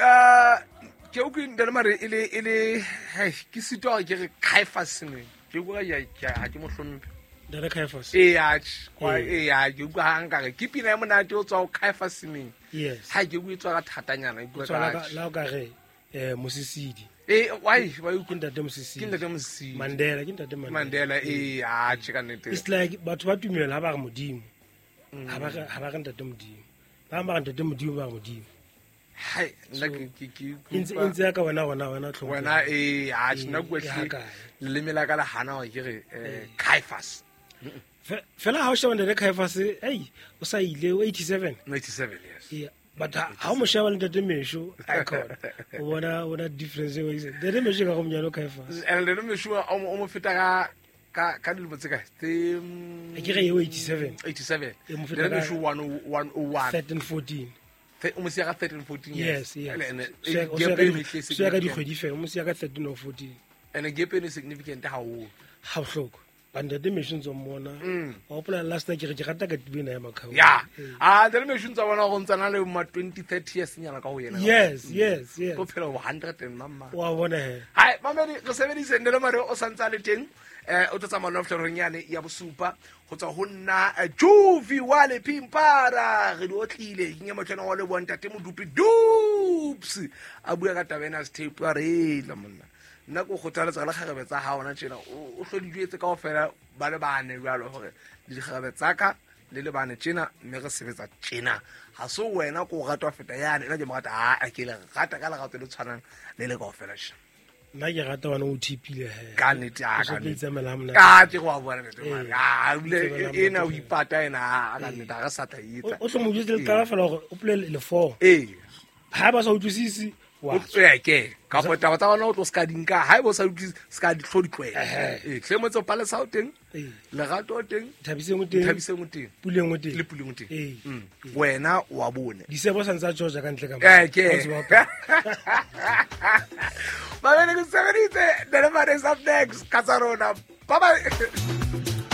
Ka ke utlwe ntate mare e le e le hei, ke sitwa gore ke re Caiphus ne ke utlwa ga ke mo hlomphe. Ntate Caiphus. Ee, atjhe, ee, ha ke utlwa ha nkare ke pina e monate o tswa ho Caiphus neng. Yes. Ha ke utlwe e tswa ka thatanyana, e utlwa Tswa ka la o ka re Mosisidi. Ee, why why Ke ntate Mosisidi. Ke ntate Mosisidi. Mandela, ke ntate Mandela. Mandela, ee, atjhe, ka nnete. It's like batho ba tumelo ha ba re Modimo. Ha ba re, ha ba re ntate Modimo. Ba ba re ntate Modimo, ba re Modimo. Hai, nna ke E ntse ya ka wena gona, wena tlhompho. Wena, ee, atjhe, nna Ee, ke ke ha kae? leleme la ka le hana hore ke re, Caiphus. Fela ha o sheba ntate Caiphus, ei, o sa ile, o 87. 87, yes. Yeah, but ha o mo sheba le ntate Mesho, icon, o bona difference eo. Ntate Mesho ka go monyane o Caiphus. And ntate Mesho o mo feta ka dilemo tse kae? Tse, Ke re eo 87. 87. E mo feta Ntate ka Mesho one oh, one oh one. 13, 14. O mo siya ka 13, 14 years. Yes, yes. And, So ya- o gap siya ka e di- mehle e so ya ka significant. dikgwedi fela, o mo siya ka 13 or 14. And gap eno e significant haholo. Ha bohloko. Ba ntate Mesho ntse o mmona. Wa hopola last night ke re ke rata katiba ena ya Makhau. Ya. Ah, ntate Mesho ntse a bona gore o ntse a na le ma 20, 30 years nyana ka ho yena. Yes, yes, yes. Tlo phela ho 100 and mamma. Wa bona he. Hai, mamedi, re sebedise ntate Mare o santse a le teng. O tlo tsamaya le fihla yane ya bosupa ho tswa ho nna, Jovi wa le Pimpara. Re di otlile, ke nye motho wa le bona ntate Modupi Dupes. A bua ka taba ena ya sethepu, a re etla monna. Nna ke o kgothaletsa le kgarebe tsa hao hona tjena, o hlo di jwetse kaofela ba le bane jwalo hore le dikgarebe tsa ka le le bane tjena, mme re sebetsa tjena. Ha se wena ke o rata ho feta yane, nna ke mo rata, ha, ke le rata ka lerato le tshwanang le le kaofela tjena. Nna ke rata wena o thipile he. Ka nnete, O ka so tlo nnete. itsamaela ha monate. Ka ke go a bona nnete, Ee. mare. Ah, ebile Itsamaela ha ena o monate. ipata ena, ka nnete, ha re sa tla e etsa. O tlo mo jwetsa le qala fela hore o pole le four. Ee. Ha ba sa utlwisise, wa O tswe ke. Kapa taba tsa bona o tlo ska di nka, ha eba o sa utlwisise, ska di tlo di tlwaela. Ehe. Ee, hle motse o Palesa o teng, Ee. Lerato o teng, Thabiseng o teng, Thabiseng o teng, Puleng o teng. le Puleng o teng. Ee. Wena o wa bone. Disebo sa ntse a Georgia ka ntle ka Eh, ke. Ha o tseba hape. Mamedi, ke sebeditse. Ntate Mare is up next. Ka tsa rona. Bye bye.